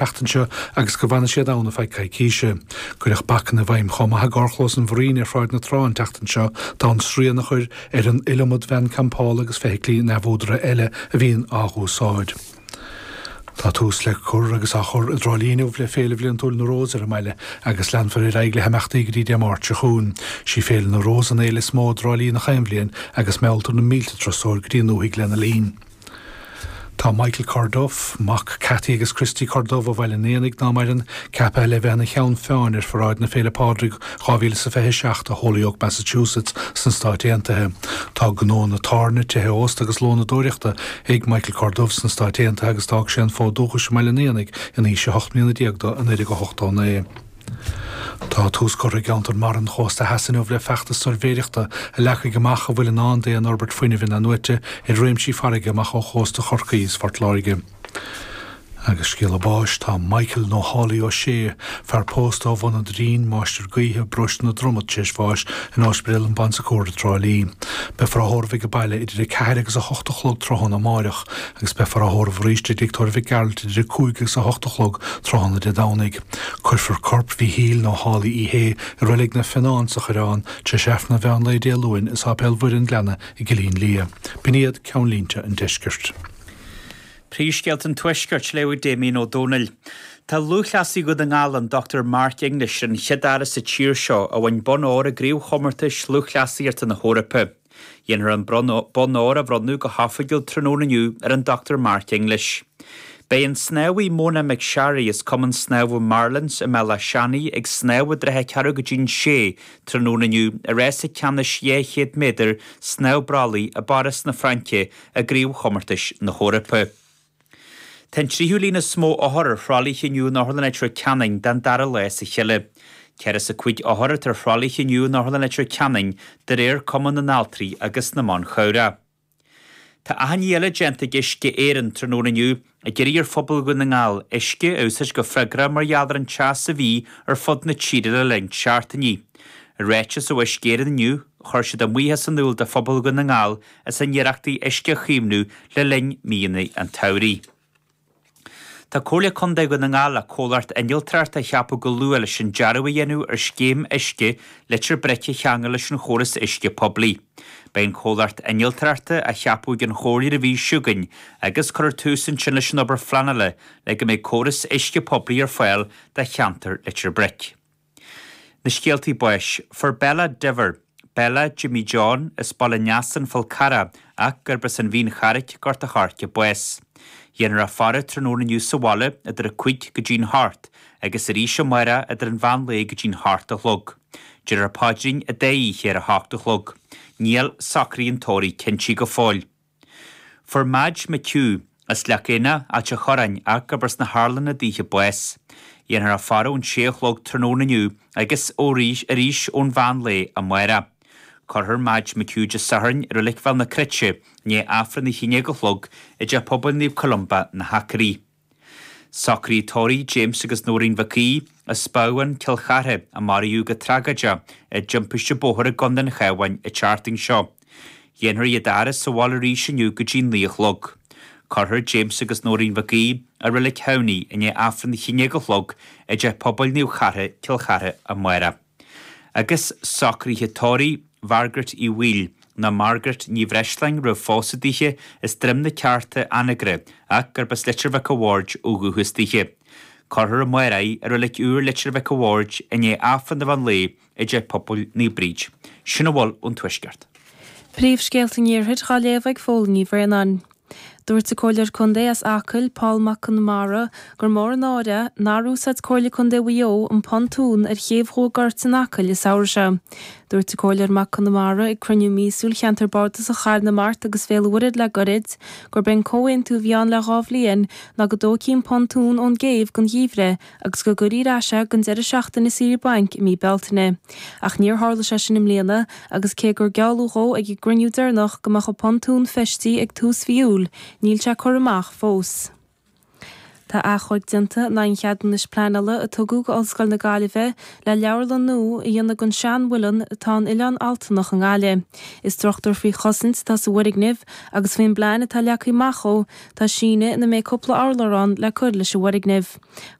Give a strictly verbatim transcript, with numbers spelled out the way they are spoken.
tseachtain seo agus go bhfanfaidh siad ann ar feadh coicíse. Cuireadh bacanna i bhfeidhm chomh maith i gcarrchlós an Mhuirín ar Shráid na Trá an tseachtain seo d'fhonn srian a chur ar an iliomad veain campála agus feithiclí neamhúdaraithe eile a bhíonn á n-úsáid. Tá tús le cur agus á chur i dTrá Lí inniu le Féile Bhliantúil na Rós ar an mbaile agus leanfar ar aghaidh le himeachtaí go dtí Dé Máirt seo chugainn. Sí Féile na Rós an fhéile is mó i dTrá Lí gach aon bhliain agus mealltar na mílte turasóir go dtí an ndúthaigh lena linn. Tá Michael Corduff, mac Cathy agus Christy Corduff ó Bhaile an Éanaigh ná maireann, ceaptha le bheith ina cheann feadhain ar pharáid na Féile Pádraig dhá mhíle is a fiche seacht i Holyoke, Massachusetts sna Stáit Aontaithe. Tá gnónna tábhairne, tithe ósta agus lónadóireachta ag Michael Corduff sna Stáit Aontaithe agus d'fhág sé an fód dúchais i mBaile an Éanaigh in aois a hocht mbliana déag dó i naoi déag ochtó naoi. Tá tús curtha i gceantar mara an chósta theas inniu le feachtas suirbhéireachta a leagfaidh amach a bhfuil i ndán d'aon fhorbairt fuinnimh inathnuaite ar réimsí farraige amach ó chósta Chorcaí is Phort Láirge. Agus scéala báis, tá Michael nó Holly Ó Sé, fear pósta ó Bhun an Doirín, máistir gaoithe, Paróiste na Dromad, tar éis bháis in Ospidéal an Bon Secours i dTrá Lí. Beifear á thórramh ag an baile idir a ceathair agus a hocht a chlog tráthnóna amáireach agus beifear á thórramh arís i dTigh Tórraimh Mhic Gearailt idir a cúig agus a hocht a chlog tráthnóna Dé Domhnaigh. Cuirfear corp Mhíchíl nó Holly Uí Shé i Reilig na Fionnán sa Choireán tar éis Aifreann an mheán lae Dé Luain i Sáipéal Mhuire an Ghleanna i gCillín Liath. B'in iad ceannlínte an deiscirt. Príomhscéalta an Tuaiscirt, léamh ag Damien Ó Dónaill. Tá lúthchleasaí Dhún na nGall, an Dochtúir Mark English, an chéad fhear sa tír seo a bhain bonn óir i gCraobhchomórtais Lúthchleasaíochta na hEorpa. Dhéanfar an bonn óir a bhronnadh go hoifigiúil tráthnóna inniu ar an Dochtúir Mark English. Beidh an snámhaí Mona McSharry as Cumann Snámha Marlins i mBéal Átha Seanaidh ag snámh i dtrátha ceathrú go dtí'n sé tráthnóna inniu i rása ceannais dhá chéad méadar snámh brollaigh i bPáras na Fraince i gCraobhchomórtais na hEorpa. Tá an tríú líon is mó othar ar thralaithe inniu in Otharlann Leitir Ceanainn den dara lá as a chéile. Ceithre is a cúig othar atá ar thralaithe inniu in Otharlann Leitir Ceanainn de réir Cumann na nAltraí agus na mBan Chabhrach. Tá achainí eile déanta ag Uisce Éireann tráthnóna inniu ag iarraidh ar phobal Dhún na nGall uisce a úsáid go freagrach mar gheall ar an teas a bhí ar fud na tíre le linn seachtainí. I ráiteas ó Uisce Éireann inniu, chuir siad a mbuíochas in iúl do phobal Dhún na nGall as a n-iarrachtaí uisce a chaomhnú le linn míonna an tsamhraidh. Tá Comhairle Contae Dhún na nGall le comhlacht innealtóireachta a cheapadh go luath leis an dearadh a dhéanamh ar scéim uisce Leitir Bric a cheangal leis an chóras uisce poiblí. Beidh an comhlacht innealtóireachta á cheapadh ag an Chomhairle an mhí seo chugainn agus cuirfear tús ansin leis an obair phleanála le go mbeidh córas uisce poiblí ar fáil do cheantar Leitir Bric. Na scéaltaí báis, Fuair Bella Diver, Bella Jimmy John, as Baile Neasáin, Fál Carrach, ach gurb as an Mhín Charraic, Gort a' Choirce, bás. Dhéanfar a faire tráthnóna inniu sa bhaile idir a cúig go dtí'n hocht agus arís amárach idir an mheán lae go dtí'n hocht a chlog. Déarfar paidrín an dá oíche ar a hocht a chlog. Níl socruithe an tórraimh cinntithe go fóill. Fuair Madge McHugh, as Leac Éanna, Ailt a' Chorráin, ach gurb as na hArlanna daoithe bás. Dhéanfar a faire ón sé a chlog tráthnóna inniu agus arís ón mheán lae amárach. Cuirfear Madge McHugh Dé Sathairn i Reilig Bhéal na Cruite i ndiaidh Aifreann a haon déag a chlog i dTeach Pobail Naomh Columba, na hAcraí. Socruithe tórraimh James agus Nóirín Mhic Aoidh as Babhán, Cill Chartha, a maraíodh go tragóideach i dtimpiste bóthair i gContae an Chabháin an tseachtain seo. Dhéanfar iad a fhaire sa bhaile arís inniu go dtí naoi a chlog. Cuirfear James agus Nóirín Mhic Aoidh i Reilig Thamhnaigh i ndiaidh Aifreann a haon déag a chlog i dTeach Pobail Naomh Chartha, Cill Chartha amárach. Agus socruithe tórraimh Mhargaret Uí Bhaoill, nó Margaret Ní Bhreisleáin roimh phósadh daoithe, as Droim na Ceárta, Anagaire, ach gurb as Leitir Mhic a' Bhaird ó dhúchas daoithe. Cuirfear amárach í i Reilig Úr Leitir Mhic a' Bhaird i ndiaidh Aifreann an mheán lae i dTeach Pobail Naomh Bríd. Sin a bhfuil ón Tuaisceart. Príomhscéalta an Iarthair dhá léamh ag Fódhla Ní Bhraonáin. Dúirt an Comhairleoir Contae as Acaill, Paul Mac Con Iomaire, gur mór an náire é nár úsáid Comhairle Contae Mhaigh Eo an pontún ar chéibh Dhumha Goirt in Acaill an samhradh seo. Dúirt an Comhairleoir Mac Con Iomaire ag cruinniú míosúil Cheantar Bardasach Charna Mart agus Bhéal an Mhuirthead le goirid gurb é an comhaontú a bhí ann le dhá bhliain ná go dtógfaí an pontún ón gcéibh don gheimhreadh agus go gcuirfí ar ais é don deireadh seachtaine saoire bainc i mí Bealtaine. Ach níor tharla sé sin i mbliana agus cé gur gealladh dhó ag an gcruinniú deireanach go mbeadh an pontún feistithe ag tús mhí Iúil, níl sé curtha amach fós. Tá achomharc déanta in aghaidh an cheadúnais pleanála a tugadh go Ollscoil na Gaillimhe le leabharlann nua a dhéanamh den seanmhuileann atá in Oileán Altanach i nGaillimh. Is struchtúr faoi chosaint atá sa bhfoirgneamh agus faoin bplean atá leagtha amach dó tá síneadh ina mbeidh cúpla urlár ann le cur leis an bhfoirgneamh.